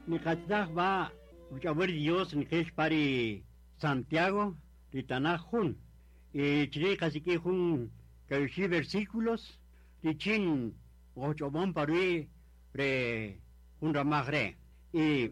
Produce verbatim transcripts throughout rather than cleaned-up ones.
Nikatzaj ba uchawar Dios nikesh pari Santiago ritanaj jun. Y chiri kasiki jun kayushi versículos richin ochobon parui re jun ramaj re. Y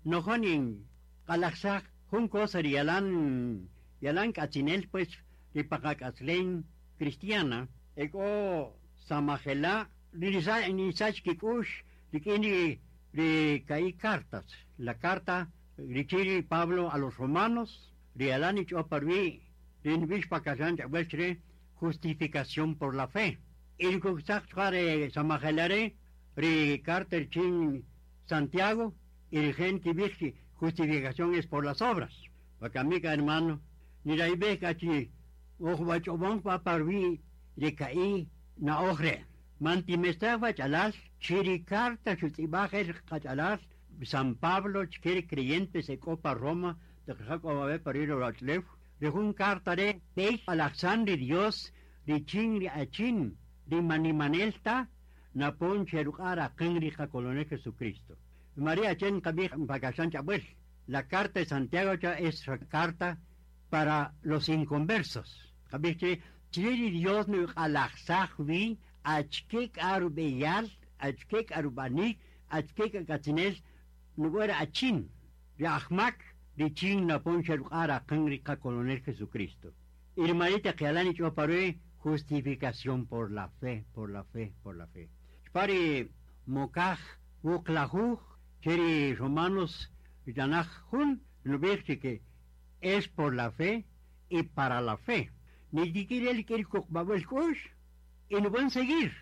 nojonin kalaksak jun cosa yalan yalan kachinel pues ripakakatzlen cristiana eko samajela nisa nisach kikush rikini ri kai cartas la carta richiri Pablo a los romanos rialani choparvi rinvish pakasan chawelchre justificación por la fe irkuxaq chare samajelare ri carta chin Santiago y gente kibij justificación es por las obras Bakamika hermano niraibe kachi ojbachobon paparvi rikai na ojre mantimestaba chalal chiricarta chutibajer chalal San Pablo chkeri creyentes se copa Roma de Jacob pariro rachlef rejun carta de pei Alexandre Dios richin achin rimanimanelta napon cherukara kengri colonel Jesucristo María Chen kabij pakasan chabuel la carta de Santiago es carta para los inconversos kabij chiri Dios nu alaxajwi achkek arubeyal achkek arubanik achkek katzinel nuguera achin riahmak richin napon cherukara kengri colonel Jesucristo Irmanita que choparue justificación por la fe, por la fe, por la fe. Pari mokaj wuklajuj cheri romanos yanaj jun que es por la fe y para la fe. Ni siquiera el que kush y no pueden seguir.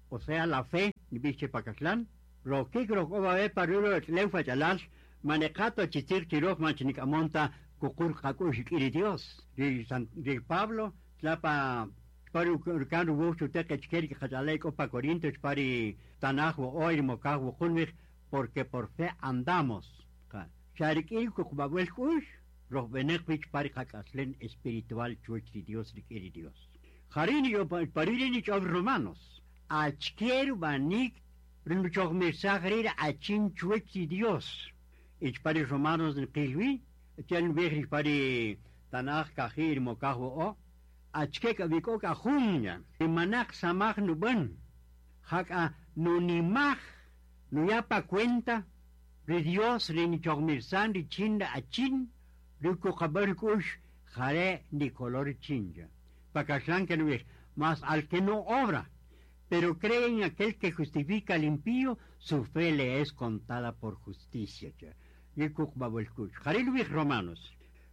O sea, la fe, ni biche pakaslán. Roque rokoba parulo leufa chalal manejato chitir chiroj manchinicamonta kukur kakush iri Dios. Di San di Pablo tlapa paru kan wuchu teke chkeri kachalei opa Corintios pari tanaj wo oir mokaj wo kunwich porque por fe andamos. Charikiri kukbabuel kush rohbenek pari kakaslen espiritual chuch di Dios iri Dios. Jarini yo paririni chob romanos. Achkeru banik rinchog mesagrir achin chuch di Dios. Ich pari romanos nqilwi chen vejri pari tanaj kajir mokaj wo o achkek abiko kajunya imanak samaj nuban haka nunimaj nuyapa cuenta ri Dios rinchogmirsan richinda achin rikukabarkush jare ni color chinja pakaslan que no mas al que no obra pero cree en aquel que justifica al impío su fe le es contada por justicia yikukbabuelkush jaril romanos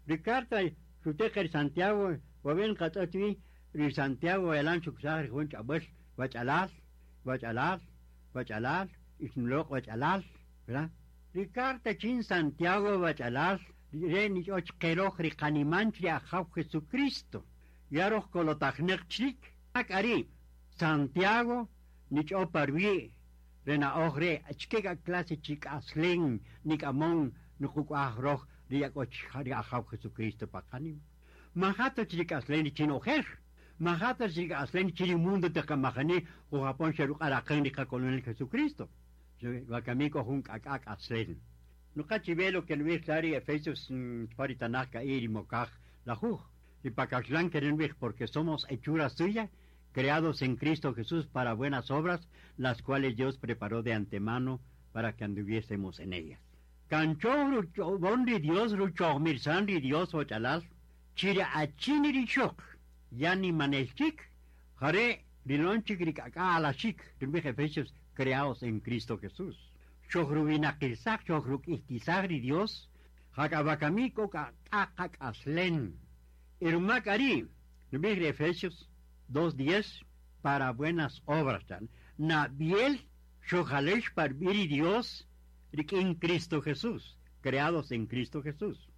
ricarta sutejer Santiago waben katatwi ri Santiago elan chuksar junch abuel wachalal wachalal wachalal ismloq wachalal ¿verdad? Ricarta chin Santiago wachalal re ni och keroj ri qanimanch ri ajaw Jesucristo yaroj kolotajneq chik ak ari Santiago nich oparwi rena ojre achkeka clase chik aslen nik amon nukuaj roj ri akoch ri ajaw Jesucristo paqanim majato chik aslen chin ojer majato chik aslen chin mundo te kamajani o Japón xeruq araqen ri colonel Jesucristo wakamiko jun k'ak'ak aslen nuqachivelo que nuij tlari Efesios paritanaj iri mokaj lajuj y pakaxlan querenwij porque somos hechura suya creados en Cristo Jesús para buenas obras, las cuales Dios preparó de antemano para que anduviésemos en ellas. Cancho bondi Dios rucho mirsandi Dios ochalal, chira achini richok, yani manelchik, jare rilonchik rikaka alashik, Efesios creados en Cristo Jesús. Chojrubinakilsak, chojrukihtisagri Dios, jakabakamiko kakak aslen. Irmakari, Efesios dos diez para buenas obras. Nabiel shojalesh par Dios en Cristo Jesús, creados en Cristo Jesús.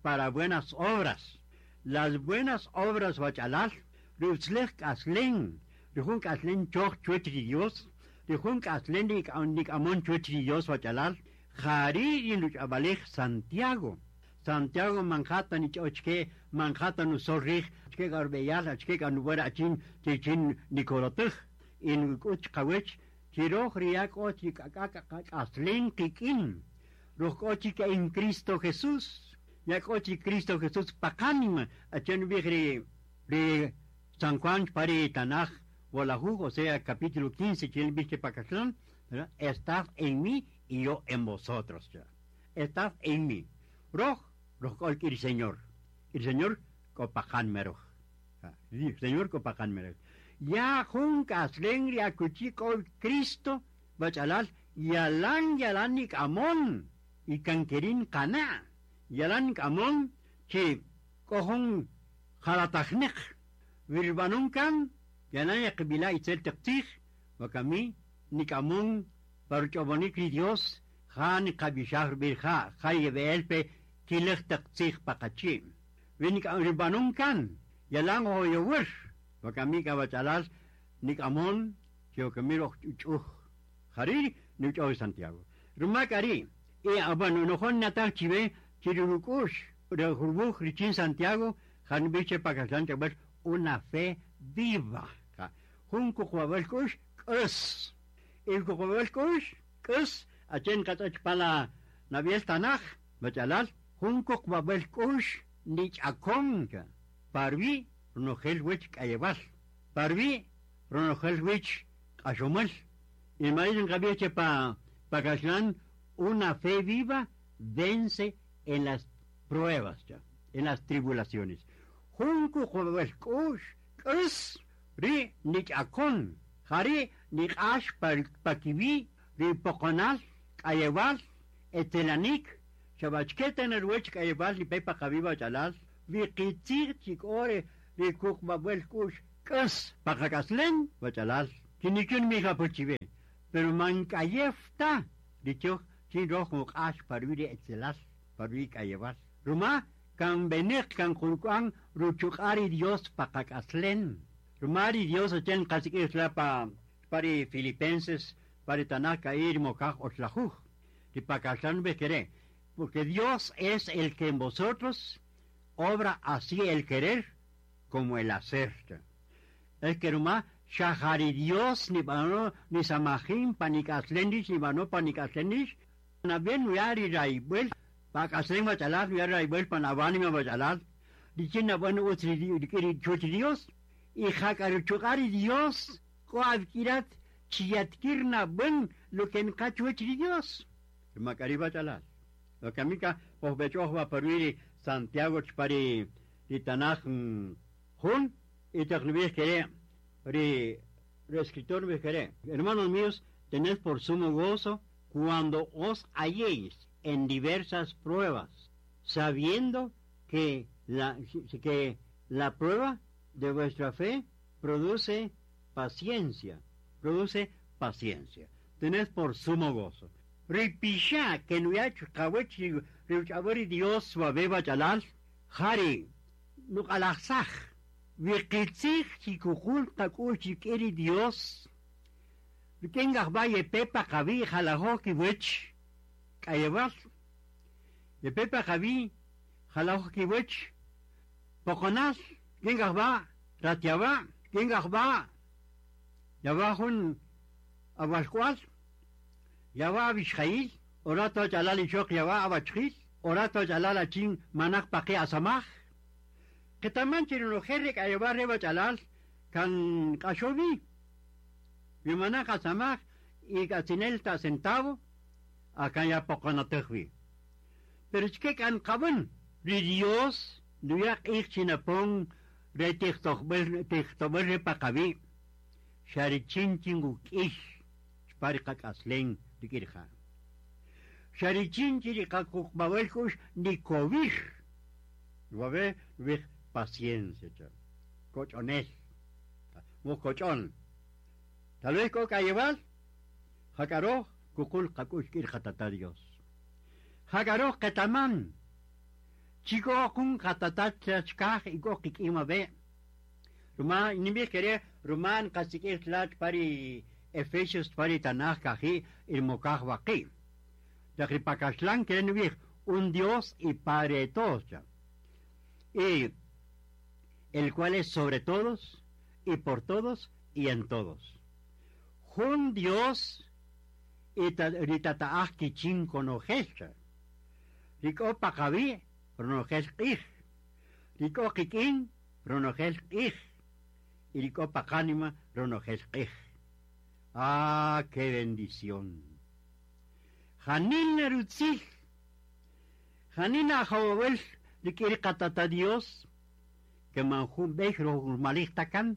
Para buenas obras. Las buenas obras wachalal, rutzlech aslen, rujun aslen choch chuech Dios, rujun aslen nik amon chuech Dios wachalal, jari inuchabalej Santiago. Santiago manjata ni ochke manjata nu sorrij achke garbeyal achke ganuera achin chichin nikorotuj in uch kawech Chiroj riak ochi k'ak'ak kikin. Roj ochi que en Cristo Jesús. Yak ochi Cristo Jesús pakanima. Achen ri ri San Juan pari Tanaj Wolajuj, o sea, capítulo quince, chil biche pakaxlan, estad en mí y yo en vosotros. Estad en mí. Roj, roj el Señor. El Señor kopajan meroj. Señor kopajan meroj. Ya jun kaslen ri akuchi ko Cristo bachalal yalan yalan nik amon y kankerin kana yalan nik amon chi kohon jalatajnek wirbanon kan yalan yakbila itzel teqtij wakami nik amon paruchobonik ri Dios jan kabishar birja jay beelpe kilej teqtij paqachi winik wirbanon kan yalan hoyowur wakami kabachalal nik amon chiocamiro chuch jariri nucho Santiago rumakari e abano nojon natal chive chirurukush rejurbuj richin Santiago janbiche pakaslan chabel una fe viva junco juabel kush kus el juabel kush kus achen katach pala nabiel tanaj bachalal junco juabel kush nich akonka parvi ronojel wich kayebal parvi ronojel wich kashomal y maíz en pa pakaslan una fe viva vence en las pruebas ya, en las tribulaciones. Junco juabel kush kus ri nich akon jari nich ash pakibi ri pokonal kayebal etelanik chabachketa en el wich kayebal ni pepa kabiba chalal vi kitzir chikore ri kukbabel kush kus pakakaslen bachalal kinichun mija pochive pero mankayefta dicho chin rojo ash parviri etzelal parvi kayebal ruma kan benek kan kulkuan ruchukari Dios pakakaslen rumari Dios ochen kasikisla pa pari Filipenses pari Tanaka ir mokaj oslajuj y pakaslan bekere porque Dios es el que en vosotros obra así el querer como el hacer. Es que ruma shahari Dios ni bano ni samajin panikaslendish ni bano panikaslendish na bien uyari raibel pakaslen bachalar uyari raibel panabani ma bachalar dichin na bueno utri dikiri Dios y jakaruchukari Dios koavkirat chiyatkirna buen lo que encachuech Dios makari bachalar lo que amica posbechohba peruiri Santiago chpari ritanaj jun y tecnubis que ri escritor me hermanos míos, tened por sumo gozo cuando os halléis en diversas pruebas, sabiendo que la, que la prueba de vuestra fe produce paciencia, produce paciencia. Tened por sumo gozo. Ripisha que no hay Dios suave chalal, jari, nukalazaj. Wikitzij chikukul takul chikeri Dios. Wikengaj valle pepa javi jalajoki wich. Kayebal. Ye pepa javi jalajoki wich. Pokonal. Kengaj va ratiaba. Kengaj va. Yabajun abalcual. Yaba abishjail. Orato chalal ichok yaba abachjil. Orato chalal achin manak paqi asamaj. Que también chirinojerrik ayebar reba chalal kan kashovi. Mi manak asamaj y katsinelta centavo acá ya poconatejvi. Pero es que kan kabun ri Dios nuyak ich chinapon re tichtobel tichtobel pakavi. Sharichin chinguk ich parikak aslen dikirja. Sharichin chirikakukbabelkush nikovij. Wabe wij paciencia, cochonel, cochón. Tal vez coca llevar, jacaró, cucul, cacush, kirjatata Dios. Jacaró, ketamán, chico, kun, jatatat, chachkaj, y coquic, ima be. Rumán, ni querer, Rumán, cacique, tlach, pari, Efesios, pari, tanaj, kaji, il mokaj, waki. Takripakashlan, quieren un Dios y Padre de todos. Y el cual es sobre todos, y por todos, y en todos. Jun Dios y tata'aj kichin konojel. Rik'o paqawi' ronojel q'ij. Rik'o kik'in ronojel q'ij. Y rik'o paqánima ronojel q'ij. Ah, qué bendición. Janina rutzil. Janina ajawabel rik'in qatata Dios que man jun b'ey malij takan.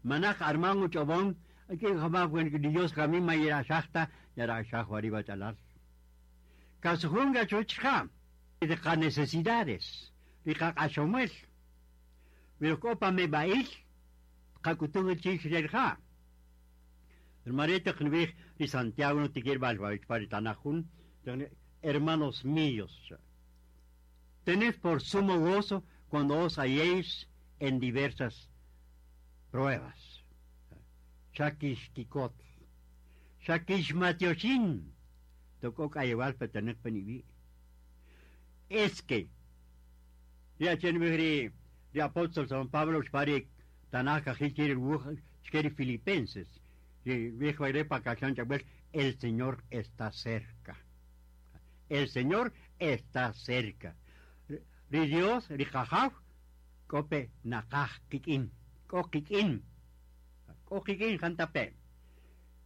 Manaj arman uch'ob'on aquí jamás Dios kami mayirashajta yarashaj wariba chalal. Kasujunga chuchja de qa necesidades riqa q'axomel. Wirkopa me bail qakutuj chich rerja. Hermanito knvij ri Santiago no tikir balbavich paritanajun, hermanos míos, tened por sumo gozo cuando os halléis en diversas pruebas. Shakish kikot, shakish matioshin, tocó kayewal petenek penibi. Es que, ya chen ri apóstol San Pablo xpari tanaka jilchiri chkeri filipenses, el Señor está cerca. El Señor está cerca. Ri Dios, ri jajaw, kope nakaj kikin, ko kikin, ko kikin jantape.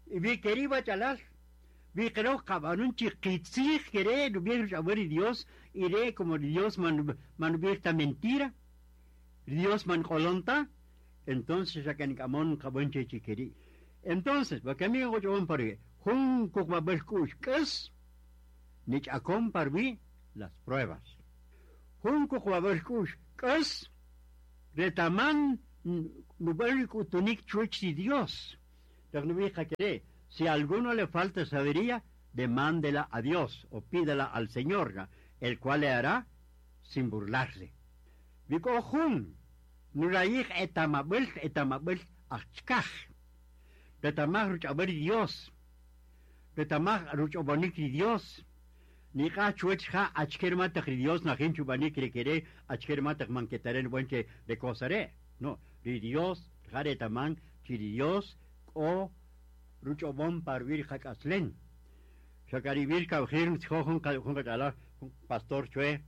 Y vi queriba chalal, vi creo cabanun chiquitzij quere, no vi Dios, iré como Dios man man esta mentira, Dios man colonta, entonces ya que camón cabonche chiqueri. Entonces, porque mi go pare, jun kukmabel kush nich akom parvi las pruebas. Jun kukmabel kush kes retaman nubel kutunik chuch Dios. Si a alguno le falta sabiduría, demándela a Dios o pídela al Señor, el cual le hará sin burlarse. Biko jun, nurayij etamabel etamabel achkaj. Retamaj ruchaber Dios. Retamaj ruchobonik Dios. Nika chuech ja achker matach Dios najin chubanik rekere achker matach manquetaren buenche de cosare. No, ri Dios jaretaman chiri Dios o ruchobon parvir jakaslen. Shakaribir kabjir jun jun pastor chue.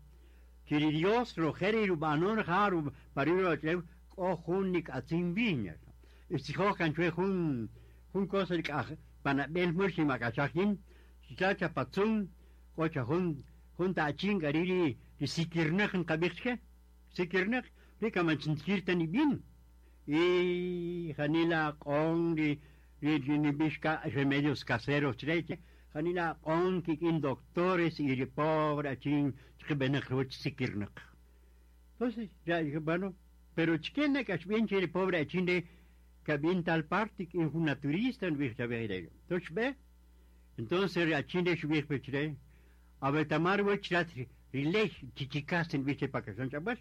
Chiri Dios rojeri rubanon jaru parir o jun nik atzin viña. Istijokan chue jun jun cosa panabel mursi makachajin, chacha patsun, kocha jun jun tachin gariri sikirnek kabixke, sikirnek, rika manchinchirta ni bien. Y janila con ri ri bishka remedios caseros treche, janila con kikin doctores y pobre achin chbenek sikirnek. Entonces, ya dije, bueno, pero chkene kachbien chiri pobre achin de que tal parte que un naturista en Entonces, ve, entonces achinde shubir pechre, a ver tamar wechrat rilej chichicasten viche pa que son chabas,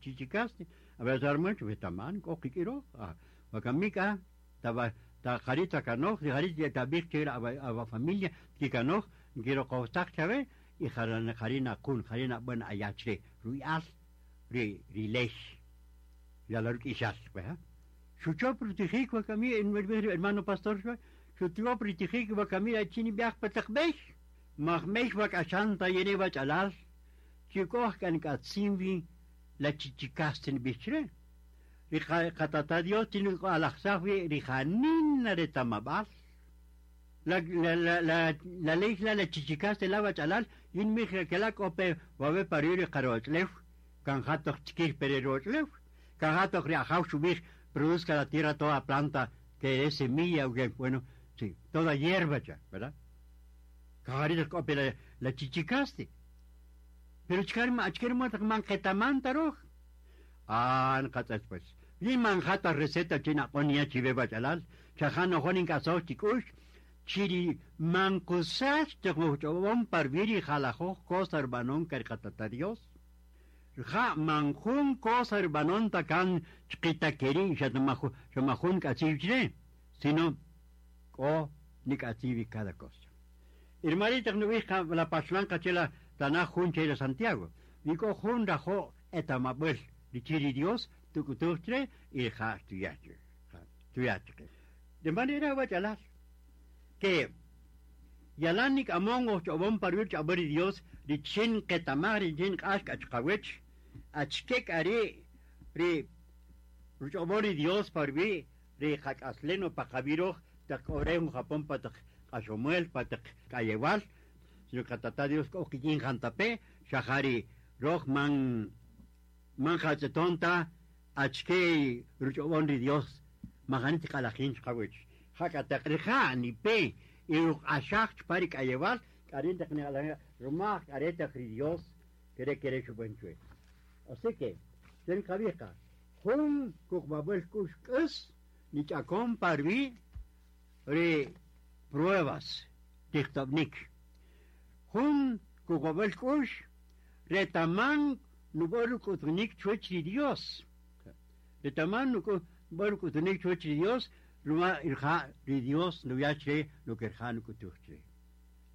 chichicasten, a ver armach vetaman kokikiro, a bakamika taba ta jarita kanoj, de jarita tabir que a a familia que kanoj, quiero costar chabe y jarana jarina kun jarina buena ayachre, ruial ri rilej. Ya la ruquishal, ¿verdad? Xuchop rutijik wakami hermano pastor xuchop rutijik wakami achini biaj patakbej mahmej wakachanta yene wachalal chikoh kan katsimbi la chichikasten bichre riqatata Dios tiene alajsawi rijanina de tamabal la la la la la ley la la chichikaste la wachalal yin mij que la kope wabe parir qarochlef kan jatok chikir pererochlev kan jatok riajaw shubij produzca la tierra toda planta que es semilla, o que, bueno, sí, toda hierba ya, ¿verdad? Cajarito cope la, la chichicaste. Pero chkarma, achkerma man ketamantaroj. Ah, nkatas pues. Ni manjata receta china ponia chibeba chalal, chajano jonin caso chikush, chiri mankusas te parviri jalajo cosa hermanon carcatata Dios. Ja manjun cosa hermanon takan chquita keri xamajun kachichre, sino o ni kachivi cada cosa. Hermanita no vija la paslanca chela tanajun chela Santiago. Niko jun rajo etamabel dichiri Dios tukutuchre y ja tuyache. Tuyache. De manera wachalal que yalan nik'amon ojch'ob'on parwir ch'ab'äl Dios richin qetamaj richin k'ax k'achqawech achke k'ari ri ruch'ob'on ri Dios parwi ri qak'aslen o paqab'iroj taq k'orej Japón pa taq k'axomuel pa taq k'ayewal sino qatata Dios k'o kikin jantape xajari roj man man jatz'etonta achke ruch'ob'on ri Dios majani tiq'alajin xqawech jaka taq rija' nipe y ruq'axaj chpa ri k'ayewal k'arin taq niq'alajin rumaj k'are taq ri Dios kere kere xub'an chwe. Así que ten qab'ija jun kuqb'ab'al k'ux k'is nich'akon parwi ri pruebas tijtob'nik jun kuqb'ab'al k'ux retaman nub'or ruk'utunik chuwach ri Dios retaman nub'or ruk'utunik chuwach ri Dios ruma irja ri Dios nuya che lo que irja nuk'utuj che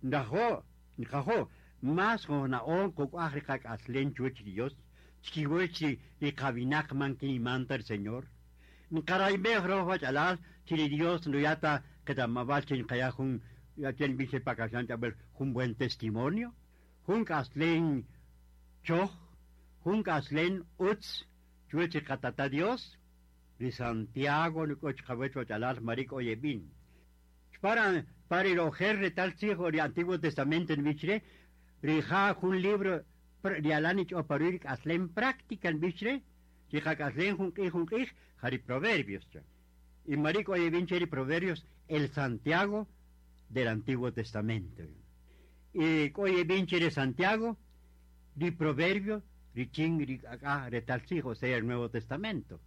ndajo nqajo más jona'on kuk'aj ri qak'aslen chuwach ri Dios chkiwach ri ri qawinaq man kinimanta el Señor nqarayb'ej roj wach'alal chi ri Dios nuyata qetamab'al chi nqaya jun yachen biche pakaxan ch'ab'el jun buen testimonio jun k'aslen choj jun k'aslen utz chuwach ri qatata Dios ri Santiago nuk'och qawech wach'alal marik oyeb'in para para el ojer retal tzij ri Antiguo Testamento nb'ichre rija jun libro rialan ich'oparuir k'aslen práctica nb'ichre rija k'aslen jun q'ij jun q'ij jari Proverbios cha. Y marik oyeb'in che ri Proverbios el Santiago del Antiguo Testamento. Y oyeb'in che ri Santiago ri Proverbio richin ri acá retal tzij, o sea el Nuevo Testamento.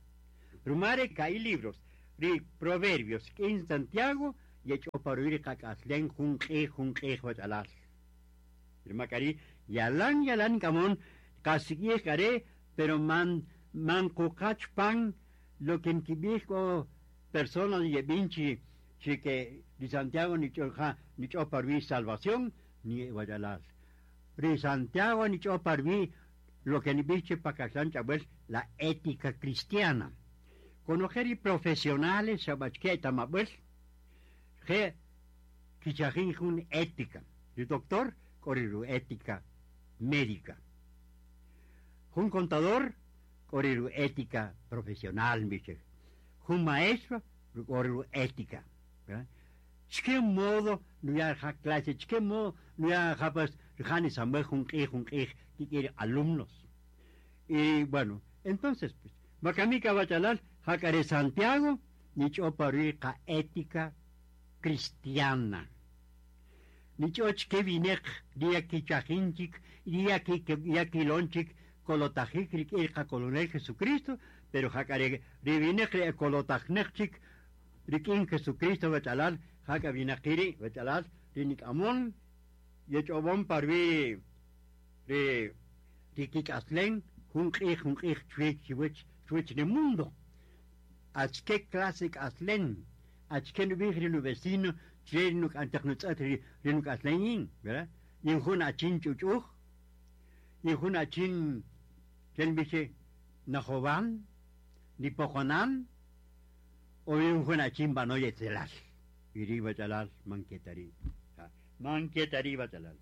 Rumare ka'i libros ri Proverbios k'in Santiago yech'oparuir qak'aslen jun q'ij jun q'ij wach'alal. Rimakari yalan yalan kamon qasik'ij k'are pero man man kuqach pan lo que nkib'ij k'o personas yeb'in chi chi que ri Santiago nich'oja nich'oparwi salvación ni wach'alal. Ri Santiago nich'oparwi lo que nib'ij che pakaxlan ch'ab'el la ética cristiana. Conocer y profesionales xab'achke tamab'el je kichajin jun ética. El doctor k'oriru ética médica. Jun contador k'oriru ética profesional miche. Jun maestro k'oriru ética. ¿Verdad? ¿Qué modo no ya ja clase? ¿Qué modo no ya ja pues jani samaj jun q'ij jun q'ij kik'ir alumnos? Y bueno, entonces pues makamika bachalal jakare Santiago nich'oparui qa ética cristiana. Nich'och ke vinek ria kichajinchik ria ki ria kilonchik kolotajik rik'ir qa colonel Jesucristo, pero jakare rivinek ri kolotajnekchik rik'in Jesucristo bachalal jaka vinaqiri bachalal rinik'amon yech'ob'on parwi ri rikik'aslen jun q'ij jun q'ij chwich chiwich chwich ni mundo. Achke clase k'aslen achke nub'ij ri nuvecino che nuk'antaq nutz'at ri ri nuk'aslen yin, ¿verdad? Yin jun achin ch'uch'uj yin jun achin chen biche najoban ni pojonan o yin jun achin banoy etzelal iri bachalal manketari manketari bachalal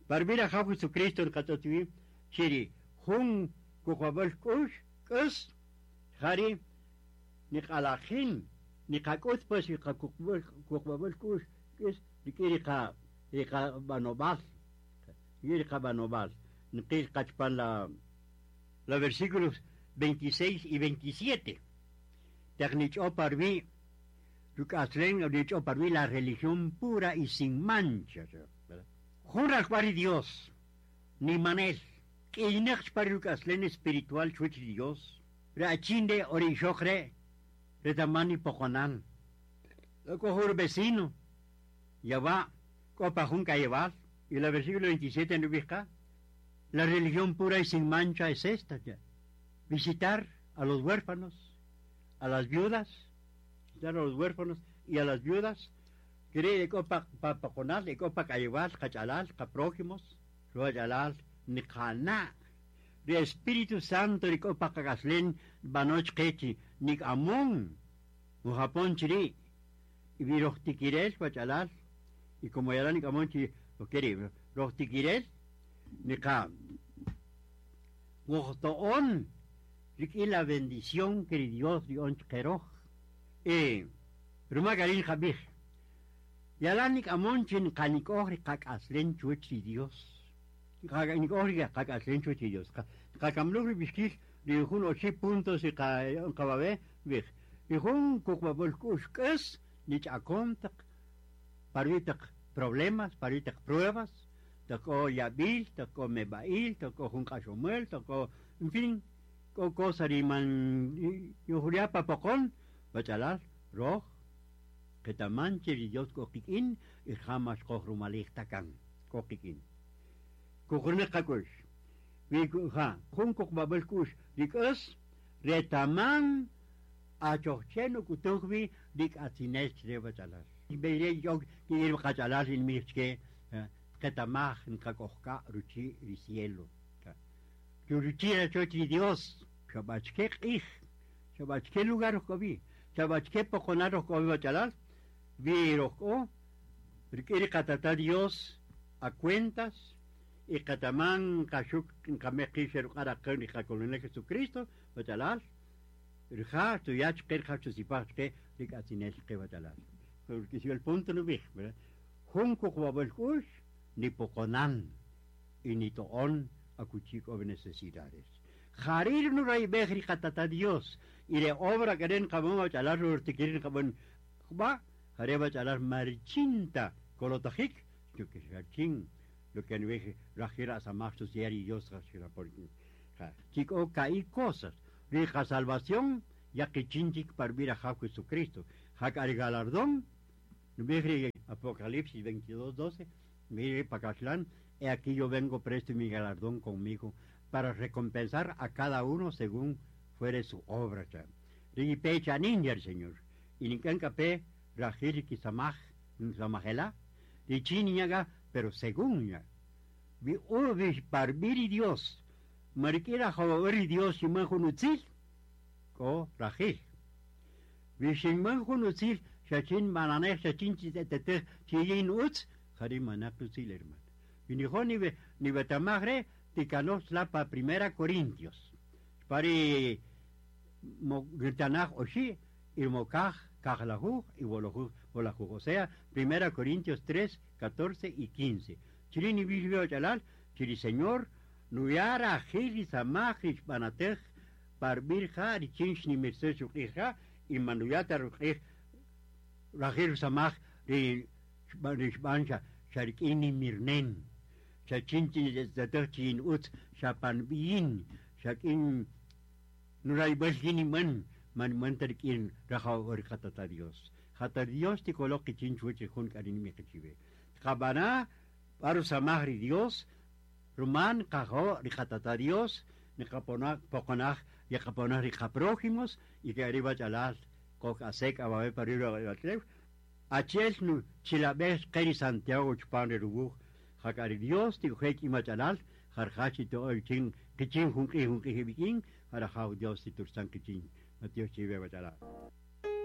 Barbira jaw Jesucristo nqatz'otwi chiri jun kuqwab'al k'ux k'us jari niq'alajin niqak'ut pues kuqwab'al k'ux k'us rik'in riqa riqa b'anob'al riqa b'anob'al nqil qachpan la la versículos veintiséis y veintisiete taq nich'oparwi ruk'aslen nich'oparwi la religión pura y sin mancha, ¿verdad? Jun ralk'wal Dios ni manel k'iynaq chpa ruk'aslen espiritual chuwach Dios rachinde orixoqre retamani pojonan k'o vecino ya va k'o jun k'ayewal y la versículo veintisiete nub'ijqa la religión pura y sin mancha es esta ya. Visitar a los huérfanos, a las viudas, visitar a los huérfanos y a las viudas, quiere k'o pa pojonal k'o pa k'ayewal qach'alal qaprójimos ruwach'alal niqana' ri Espíritu Santo ri k'o pa qak'aslen b'anoch qechi nik'amon ujapon chiri' Y vi rohtikirel bachalal y como ya ni kamonchi lo quiere rohtikirel ni ka wohtoon rik'i la bendición que Dios dio chqeroj eh ruma karin jabij yalan nik amonchi nqanik'oj ri qak'aslen chuwach ri Dios qak'anik'oj ri qak'aslen chuwach ri Dios qakamluj ri bixkil ri jun oxi puntos y qa bij ri jun kuqb'ab'al k'u'x k'es nich'akon taq parwi taq problemas parwi taq pruebas taq k'o yab'il taq k'o meb'a'il taq k'o jun q'axomel taq k'o en fin k'o cosa ri man yujriá papoqon bachalal roj qetaman che ri Dios k'o qik'in y jamas qoj rumalij takan k'o qik'in kuqurni qak'ux wi ja jun kuqb'ab'al k'u'x ri k'as retaman achojchen uk'utuj wi ri k'atzinel chre bachalal b'eyre yo ki'ir qachalal inmij chke qetamaj nqak'ojka' ruchi' ri cielo ruchi' rachoch ri Dios xab'achke q'ij xab'achke lugar rojk'obi xab'achke poqonal rojk'obi bachalal wi rojk'o rik'in ri qatata Dios a cuentas y qataman qaxuk nqamej qij xeruq'ar ri qakolonel Jesucristo bachalal rija' tuyach qe rija' chusipaj chqe ri k'atzinel qe bachalal porque si el punto no bij ¿verdad? Jun kuqb'ab'al k'u'x ni poqonan y ni to'on akuchi k'o necesidades jarir nurayb'ej ri qatata Dios y re obra keren qab'an bachalal rurtikirin qab'an jb'a jare bachalal marchinta kolotajik yo que xachin lo que nubij rajira samaj y Dios rajira por chico caí cosas rija salvación ya que chinchik par vir a Jesucristo jak al galardón nubij Apocalipsis veintidós doce mire Pacachlan, he aquí yo vengo presto y mi galardón conmigo para recompensar a cada uno según fuere su obra. Rigi pecha ninja el Señor. Y ni pe rajir kisamaj samajela, richiniaga, pero según ya. Vi ubi parbiri Dios, marquera jawari Dios y manjunutzil, ko rajil. Vi shin manjunutzil, shachin mananej, shachin chitetete, chillin utz, jari manakutzil, hermano. Y ni ni be, ni betamagre, tikanos pa primera Corintios. Pari mo oshi, y mokaj, kajlajuj, y bolajuj, bolajuj. O sea, primera Corintios tres, catorce y quince. Chirini bishbeo chalal, chiri Señor, nuyara jili samaj banatej, parbirja, richinch ni merced shuqija, y manuyata ruqij, rajir samaj, ri rishbancha, sharikini mirnen, shachinchi zatej utz, shapanbiyin, shakin nuraybelgini man, man mantarkin rajaw orqatata Dios. Jata Dios tikoloqi chinchuchi jun karin miqichibe. Qabana paru samajri Dios, ruman qajo riqatata Dios, niqapona poqonaj yaqaponaj riqaprójimos y que arriba chalal kok asek ababe pariro atlef. Achel nu chilabes qeri Santiago chpan rubuj jakari Dios tikujek imachalal jarjachi to chin kichin junqi junqi bikin jarajaw Dios titursan kichin. Dios chive bachalal.